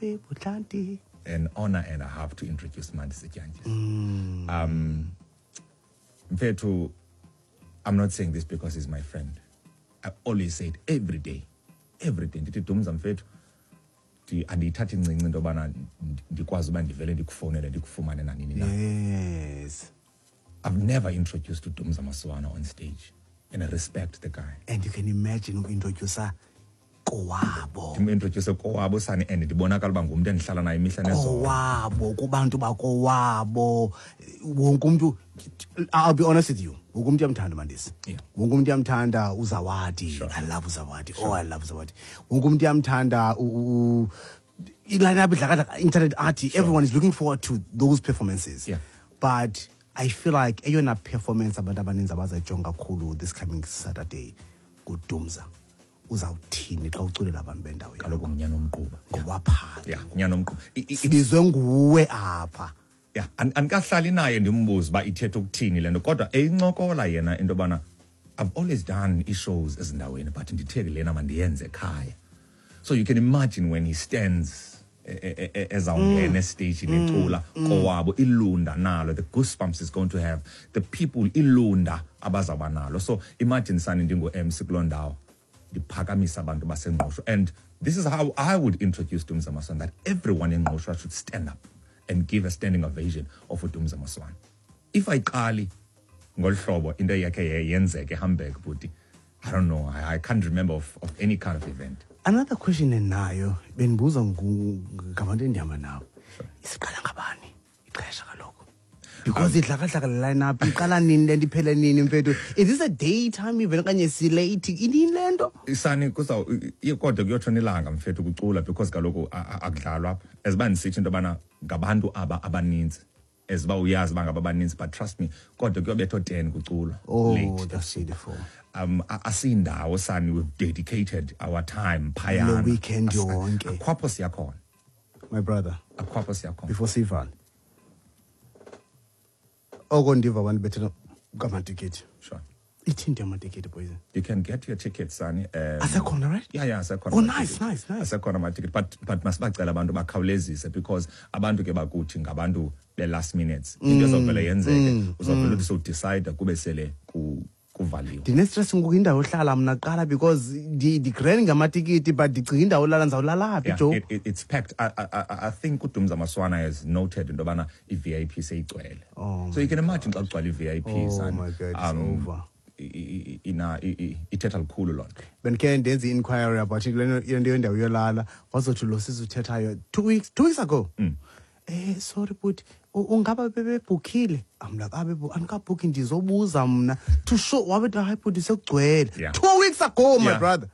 Buhlanti. An honor and a half to introduce Mandisi Dyantyis. Mfethu, I'm not saying this because he's my friend. I always say it every day. Every day. Ndithi, Dumza mfethu, andiyithathi incinci into yobana ndikwazi uba ndivele ndikufowunele ndikufumane nanini na. I've never introduced uDumza Maswana on stage, and I respect the guy. And you can imagine umintroducer kowabo. Ndimintroduce kowabo sani, and ndibonakala uba ngumntu endihlala naye imihla nezolo. Kowabo, kubantu bakowabo. Wonke umntu, I'll be honest with you, wonke umntu uyamthanda Mandisi. Wonke umntu uyamthanda uZawadi. I love uZawadi. Oh, I love uZawadi. Wonke umntu uyamthanda i-line-up idlakadlaka, internet art. Everyone is looking forward to those performances. But I feel like eyona performance abantu abaninzi abazayijonga kakhulu this coming Saturday nguDumza. Uzawuthini xa uculela abantu bendawo yakho? Kaloku ngunyana omquba. Ngowaphala. Yeah, ngunyana omquba. Sibizwe nguwe apha. Yeah, andikahlali naye ndimbuze uba ithetha ukuthini le nto, kodwa eyincokola yena into yobana I've always done ii-shows ezindaweni, but ndithe lena mandiyenze ekhaya. So you can imagine when he stands ezawungena esteyijini ecula kowabo, ilunda nalo, the goosebumps is going to have, the people ilunda abazawuba nalo. So imagine sani ndingu-MC kuloo ndawo, ndiphakamisa abantu baseNgqushwa. And this is how I would introduce Dumza Maswana, that everyone in Ngqushwa should stand up and give a standing ovation of uDumza Maswana. If ayiqali ngolu hlobo into yakhe yenzeke eHamburg, bhuti, I don't know, I can't remember of any kind of event. Another question enayo, bendibuza ngabantu endihamba nabo. Isiqala ngabani ixesha kaloku? Because idlakadlaka le line-up, iqala nini le nto, iphele nini mfethu? Is this a daytime event okanye silate? Inini le nto? Sani, kodwa kuyotshona ilanga mfethu kucula, because kaloku akudlalwa apha. As uba ndisithi into yobana ngabantu aba abaninzi, as uba uyazi uba ngaba abaninzi, but trust me, kodwa kuyobetha o-10 kuculwa. Oh, Late. That's beautiful. Asindawo sani, we've dedicated our time phayana. Le weekend yonke. Akhwapho siyakhona. My brother. Akhwapho siyakhona. Before sivale. Oko ndiva abantu bethela ngamatikiti. Ithini amatikiti, boys? You can get your tickets, Sani. Asekhona, right? Yeah, yeah, asekhona Oh, amatikiti. nice, nice, nice. Asekhona amatikiti, but masibacela abantu bakhawulezise, because abantu ke bakuthi ngabantu be last minutes. Into ezawuvele yenzeke, uzawuvele uthi sowudecide kube sele kuvaliwe. Ndine-stress ngoku indawo yohlala mna kuqala, because ndigrand ngamatikiti, but ndicinga indawo yolala ndizawulala phi, Yeah, Joe? it's packed. I think uDumza Maswana has noted into yobana i-VIP seyigcwele. Oh, So you can my imagine xa God. kugcwala i-VIP, Oh son. my God, it's over. Ithetha lukhulu loo nto. Bendikhe ndenze i-inquiry about le nto, le nto yendawo yolala, wazothi lo sisi uthethayo 2 weeks ago. Sorry, but ungaba bebebhukhile? I'm like, andikabhukhi, ndizobuza mna. To show, wabe uthi, hayi, bhuti, sekugcwele. 2 weeks ago, my brother.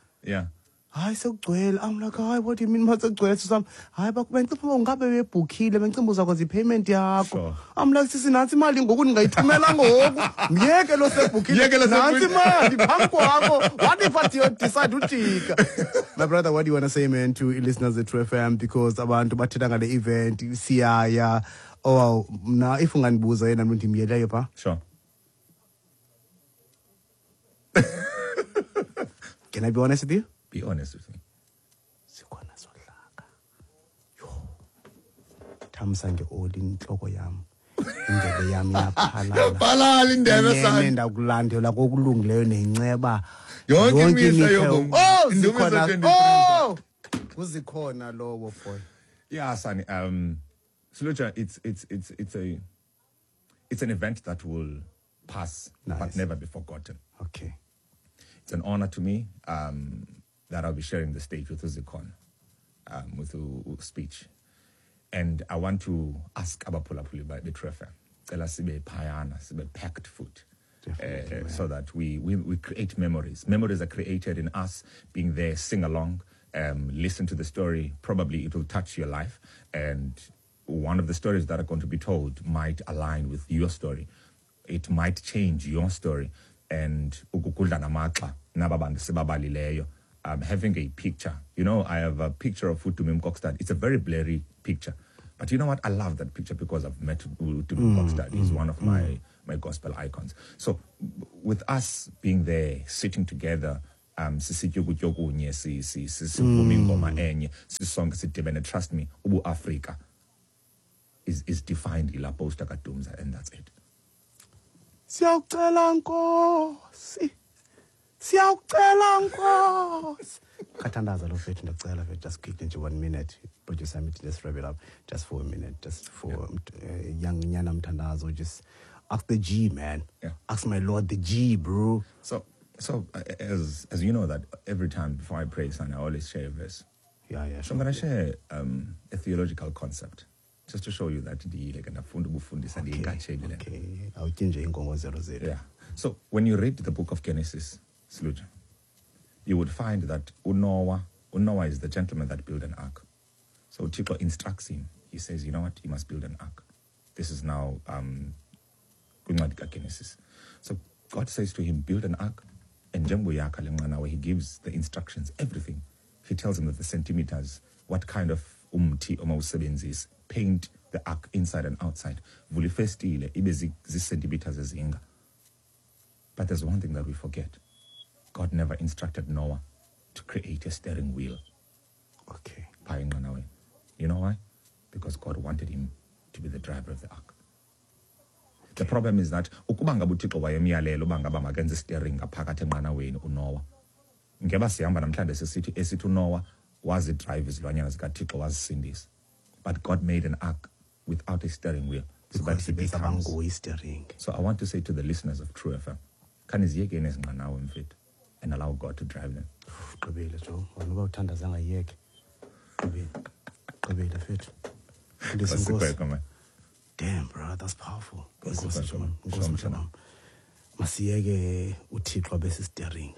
Hayi, sekugcwele. I'm like, hayi, what do you mean, ma sekugcwele, sisi wam? Hayi, bendicinga uba ungabe bebebhukhile, bendicinga uba uzakwenza i-payment yakho. I'm like, sisi, nantsi imali ngoku, ndingayithumela ngoku. Myeke lo sebhukhile. Myeke lo Nantsi sebhukhile. imali phambi kwakho. What if I decide ujika? My brother, what do you want to say, man, to listeners at True FM? Because abantu bathetha ngale event, siyaya. Oh, mna, if ungandibuza yena mntu ndimyeleyo pha. Can I be honest with you? Be honest with me. Sikhona sohlaka. Yho. Thamsa ngeoli intloko yam. Indebe yam iyaphalala. Iyaphalala indebe, Inene son. ndakulandela kokulungileyo nenceba. Yonke Yonke imihla imihla yobomi. Oh, Indumiso zikhona. 23. Oh! Uzikhona lowo boy. Yeah, Sani. Siluja, it's an event that will pass, but Nice. never be forgotten. Okay. It's an honor to me that I'll be sharing the stage with Uzikhona, with speech. And I want to ask abaphulaphuli be True FM, cela sibe phayana, sibe packed food. Definitely, man. So that we create memories. Memories are created in us being there, sing along, listen to the story. Probably it will touch your life. And one of the stories that are going to be told might align with your story. It might change your story. And ukukudla namaxa naba bantu sibabalileyo, having a picture. I have a picture of uTumi Mkokstad. It's a very blurry picture. But you know what? I love that picture because I've met uTumi Mkokstad. He's one of my gospel icons. So with us being there, sitting together, Sisitya ukutya okunye, sivuma ingoma enye, sisonke sidibene. Trust me, ubuAfrika is defined yilaa poster kaDumza, and that's it. Siyawucela Nkosi, siyawucela Nkosi. Khathandaza lo fethu, ndiyacela fethu, just quickly nje 1 minute. Producer mithi let's wrap it up just for a minute, just for young nyana mthandazo, just ask the G, man. Ask my Lord the G, bro. So as you know that every time before I pray, son, I always share a verse. So I'm going to share a theological concept just to show you that ndiyile ke, ndafunda ubufundisa, ndiyinkatheli le. Okay, awutyi nje iinkongozelo zethu. Yeah. So when you read the book of Genesis, Sluja, you would find that uNoah is the gentleman that built an ark. So Thixo instructs him. He says, "You know what? You must build an ark." This is now kwincwadi kaGenesis. So God says to him, "Build an ark." And njengoba uyakha le nqanawe, he gives the instructions, everything. He tells him that the centimeters, what kind of umthi omawusebenzise, paint the ark inside and outside. Vula ifestile ibe zii-centimeters ezinga. But there's one thing that we forget. God never instructed Noah to create a steering wheel. Phaa enqanaweni. You know why? Because God wanted him to be the driver of the ark. The problem is that ukuba ngaba uThixo wayemyalela uba ngaba makenze steering ngaphakathi enqanaweni uNoah, ngeba sihamba namhlanje sisithi esithi uNoah wazidrive izilwanyana zikaThixo, wazisindisa. But God made an ark without a steering wheel so that Because he becomes bezabanguye i-steering. So I want to say to the listeners of True FM, khaniziyekeni ezi nqanawe mfethu and allow God to drive them. Gqibile, Joe. Wena uba uthandaza angayiyeke. Gqibile. Gqibile fethu. Mfundisi, Nkosi Nkosi. Kwekwe, man. Damn, bro, that's powerful. Nkosi Nkosi, Kwekwe, man. Nkosi, Sure, mhlobo wam. Masiyeke uThixo abe si-steering.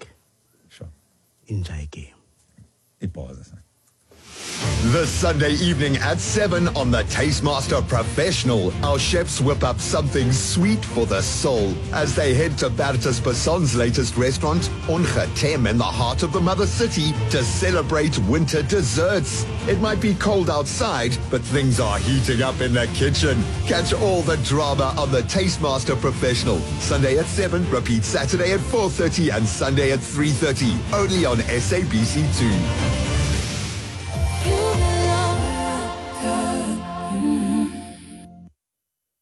Inja igame. Ibhoza, son. This Sunday evening at 7 on the Taste Master Professional, our chefs whip up something sweet for the soul as they head to Bertus Basson's latest restaurant, Ongetem, in the heart of the mother city, to celebrate winter desserts. It might be cold outside, but things are heating up in the kitchen. Catch all the drama on the Taste Master Professional. Sunday at 7, repeat Saturday at 4:30 and Sunday at 3:30, only on SABC2.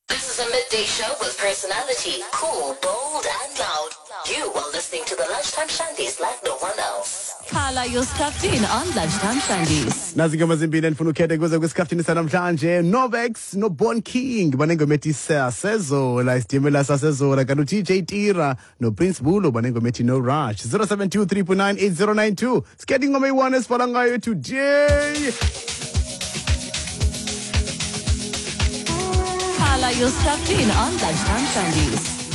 This is a midday show with personality, cool, bold, and loud. You are listening to the Lunchtime Shandies like no one else. Carla, you're strapped in on Lunchtime Shandies. Nazi ingoma zimbini endifuna ukhethe kuze kwisikhaftini sanamhlanje, Novex noBorn King banengoma ethi Sasezola, isitimela sasezola, kanti uTJ Tira noPrince Bulo banengoma ethi No Rush. 072 3.98092, sikhethe ingoma eyi-1 esibhala ngayo today. Carla, you're strapped in on Lunchtime Shandies.